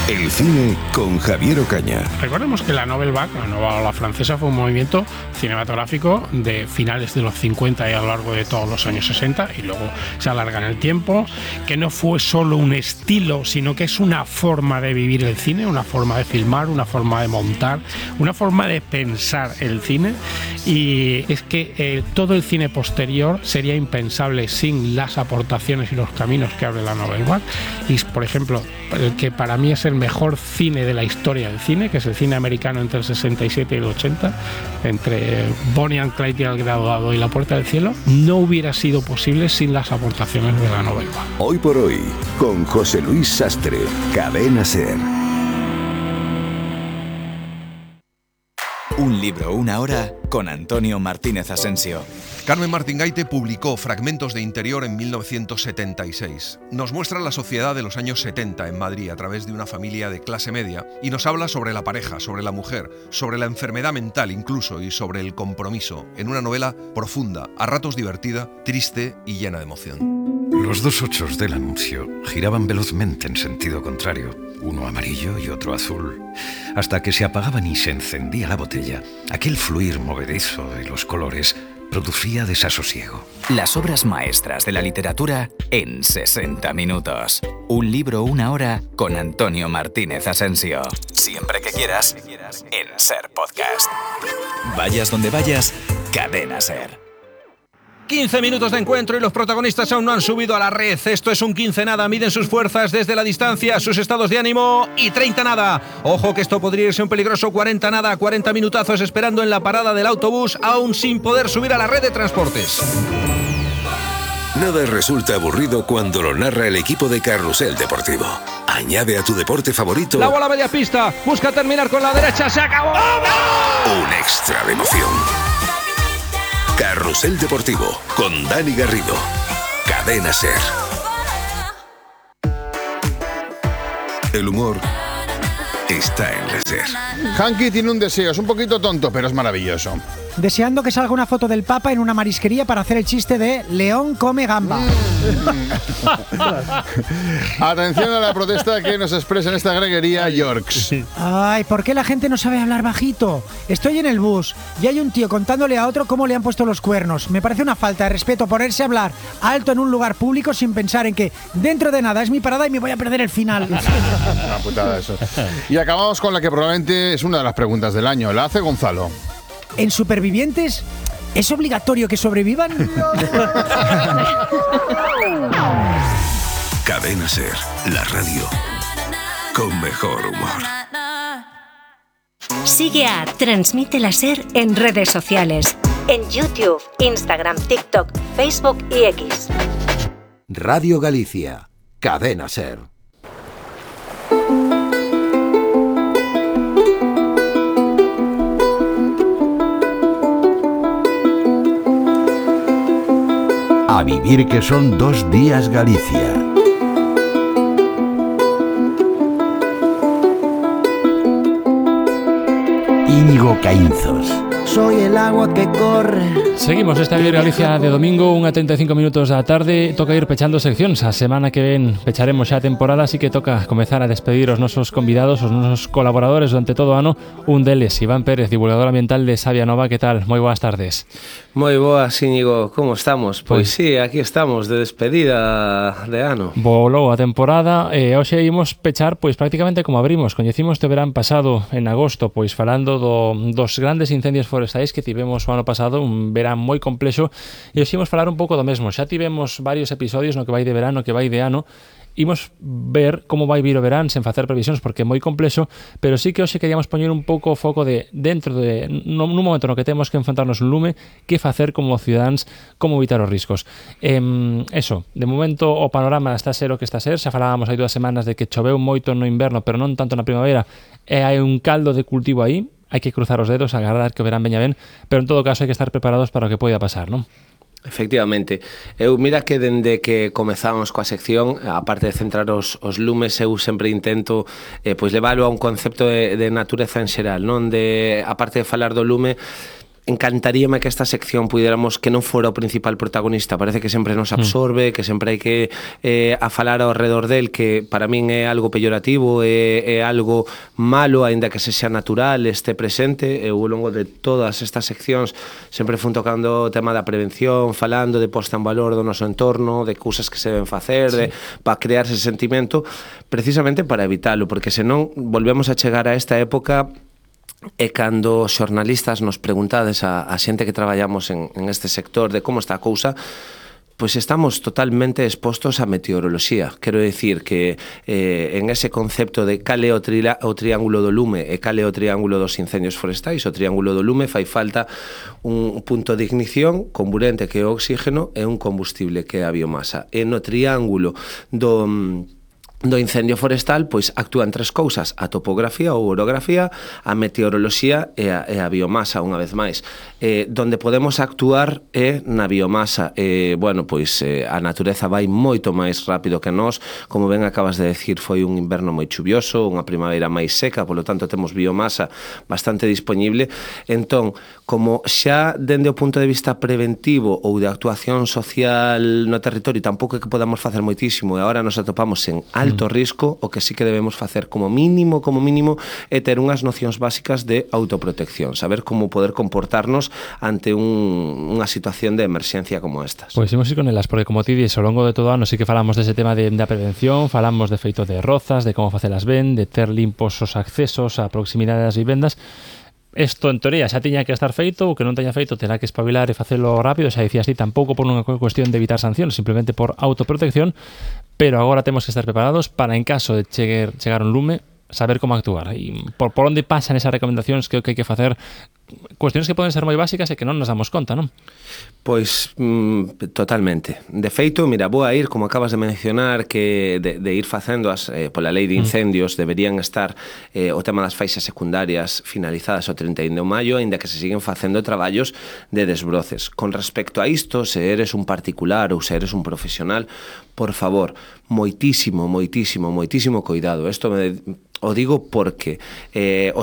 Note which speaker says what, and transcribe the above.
Speaker 1: El cine con Javier Ocaña.
Speaker 2: Recordemos que la Nouvelle Vague, la nueva ola francesa, fue un movimiento cinematográfico de finales de los 50 y a lo largo de todos los años 60, y luego se alarga en el tiempo, que no fue solo un estilo, sino que es una forma de vivir el cine, una forma de filmar, una forma de montar, una forma de pensar el cine. Y es que todo el cine posterior sería impensable sin las aportaciones y los caminos que abre la Nouvelle Vague. Y, por ejemplo, el que para mí es el mejor cine de la historia del cine, que es el cine americano entre el 67 y el 80, entre Bonnie and Clyde y El Graduado y La Puerta del Cielo, no hubiera sido posible sin las aportaciones de la Nouvelle Vague.
Speaker 1: Hoy por hoy, con José Luis Sastre, Cadena SER.
Speaker 3: Un libro, una hora, con Antonio Martínez Asensio.
Speaker 4: Carmen Martín Gaite publicó Fragmentos de Interior en 1976. Nos muestra la sociedad de los años 70 en Madrid a través de una familia de clase media y nos habla sobre la pareja, sobre la mujer, sobre la enfermedad mental incluso y sobre el compromiso, en una novela profunda, a ratos divertida, triste y llena de emoción.
Speaker 5: Los dos ochos del anuncio giraban velozmente en sentido contrario, uno amarillo y otro azul, hasta que se apagaban y se encendía la botella. Aquel fluir movedizo de los colores producía desasosiego.
Speaker 3: Las obras maestras de la literatura en 60 minutos. Un libro, una hora, con Antonio Martínez Asensio. Siempre que quieras, en SER Podcast. Vayas donde vayas, Cadena SER.
Speaker 6: 15 minutos de encuentro y los protagonistas aún no han subido a la red. Esto es un 15 nada. Miden sus fuerzas desde la distancia, sus estados de ánimo y 30 nada. Ojo que esto podría irse un peligroso 40 nada. 40 minutazos esperando en la parada del autobús, aún sin poder subir a la red de transportes.
Speaker 1: Nada resulta aburrido cuando lo narra el equipo de Carrusel Deportivo. Añade a tu deporte favorito
Speaker 6: La bola a media pista. Busca terminar con la derecha. ¡Se acabó!
Speaker 1: un extra de emoción. Carrusel Deportivo con Dani Garrido. Cadena SER. El humor está en la SER.
Speaker 7: Hanky tiene un deseo, es un poquito tonto, pero es maravilloso.
Speaker 8: Deseando que salga una foto del Papa en una marisquería para hacer el chiste de León come gamba.
Speaker 7: Atención a la protesta que nos expresa en esta greguería Yorks.
Speaker 8: Ay, ¿por qué la gente no sabe hablar bajito? Estoy en el bus y hay un tío contándole a otro cómo le han puesto los cuernos. Me parece una falta de respeto ponerse a hablar alto en un lugar público sin pensar en que dentro de nada es mi parada y me voy a perder el final.
Speaker 7: Una putada eso. Y acabamos con la que probablemente es una de las preguntas del año. La hace Gonzalo.
Speaker 8: ¿En Supervivientes es obligatorio que sobrevivan?
Speaker 1: Cadena SER, la radio con mejor humor.
Speaker 9: Sigue a Transmite la SER en redes sociales. En YouTube, Instagram, TikTok, Facebook y X.
Speaker 10: Radio Galicia, Cadena SER. A vivir que son 2 días Galicia. Íñigo Caínzos.
Speaker 11: Soy el agua que corre.
Speaker 12: Seguimos esta Vivir Galicia de domingo, 1:35 minutos da tarde. Toca ir pechando seccións. A semana que ven pecharemos xa a temporada, así que toca comezar a despedir os nosos convidados, os nosos colaboradores durante todo o ano. Un deles, Iván Pérez, divulgador ambiental de Sabia Nova. Que tal? Moi boas tardes.
Speaker 13: Moi boas, Íñigo. Como estamos? Pois sí, aquí estamos de despedida de ano.
Speaker 12: Volou a temporada e hoxe imos pechar pois prácticamente como abrimos. Coñecimos este verán pasado en agosto, pois falando dos grandes incendios forestais que tivemos o ano pasado, un verán moi complexo, e hoxe imos falar un pouco do mesmo. Xa tivemos varios episodios no que vai de verano, que vai de ano. Imos ver como vai vir o verán sen facer previsións porque é moi complexo, pero sí que hoxe queríamos poñer un pouco o foco de dentro de nun momento no que temos que enfrontarnos un lume, que facer como cidadáns, como evitar os riscos. Eso, de momento o panorama está a ser o que está a ser. Xa falábamos hai 2 semanas de que choveu moito no inverno, pero non tanto na primavera, e hai un caldo de cultivo aí. Hai que cruzar os dedos, agardar que o verán veña ben, pero en todo caso hai que estar preparados para o que poida pasar, non?
Speaker 13: Efectivamente. Eu mira que dende que comezamos coa sección, aparte de centrar os lumes, eu sempre intento pois leválo a un concepto de natureza en xeral, non? De, aparte de falar do lume, encantaríame que esta sección pudiéramos que non fora o principal protagonista, parece que sempre nos absorbe, que sempre hai que a falar ao redor del, que para min é algo peyorativo, é algo malo, aínda que se xa natural, este presente. Eu ao longo de todas estas seccións sempre fun tocando o tema da prevención, falando de posta en valor do noso entorno, de cousas que se deben facer, para crear ese sentimento, precisamente para evitalo, porque senón volvemos a chegar a esta época. E cando os xornalistas nos preguntades a xente que traballamos en este sector de como está a cousa, pois estamos totalmente expostos á meteoroloxía. Quero dicir que en ese concepto de cal é o triángulo do lume e cal é o triángulo dos incendios forestais, o triángulo do lume fai falta un punto de ignición comburente que é o oxígeno e un combustible que é a biomasa. E no triángulo do incendio forestal, pois actúan tres cousas: a topografía ou orografía, a meteoroloxía e a biomasa, unha vez máis. Donde podemos actuar é na biomasa. Bueno, pois a natureza vai moito máis rápido que nós, como ben acabas de decir, foi un inverno moi chuvioso, unha primavera máis seca, polo tanto temos biomasa bastante disponible. Entón, como xa dende o punto de vista preventivo ou de actuación social no territorio tampouco é que podamos facer moitísimo, e agora nos atopamos en alto risco, o que sí que debemos facer como mínimo é ter unhas nocións básicas de autoprotección, saber como poder comportarnos ante unha situación de emerxencia como estas.
Speaker 12: Pois imos ir con elas, porque como ti dis, ao longo de todo o ano sí que falamos dese tema da prevención, falamos de feito de rozas, de como facelas ben, de ter limpos os accesos á proximidade das vivendas. Isto, en teoría, xa tiña que estar feito, o que non teña feito terá que espabilar e facelo rápido, xa dicías ti, tampouco por unha cuestión de evitar sancións, simplemente por autoprotección, pero agora temos que estar preparados para, en caso de chegar un lume, saber como actuar. E por onde pasan esas recomendacións que hai que facer, cuestiones que poden ser moi básicas e que non nos damos conta, non?
Speaker 13: Pois totalmente. De feito, mira, vou a ir, como acabas de mencionar, que de ir facendo pola lei de incendios deberían estar o tema das faixas secundarias finalizadas o 31 de maio, aínda que se siguen facendo traballos de desbroces. Con respecto a isto, se eres un particular ou se eres un profesional, por favor, moitísimo cuidado. Isto o digo porque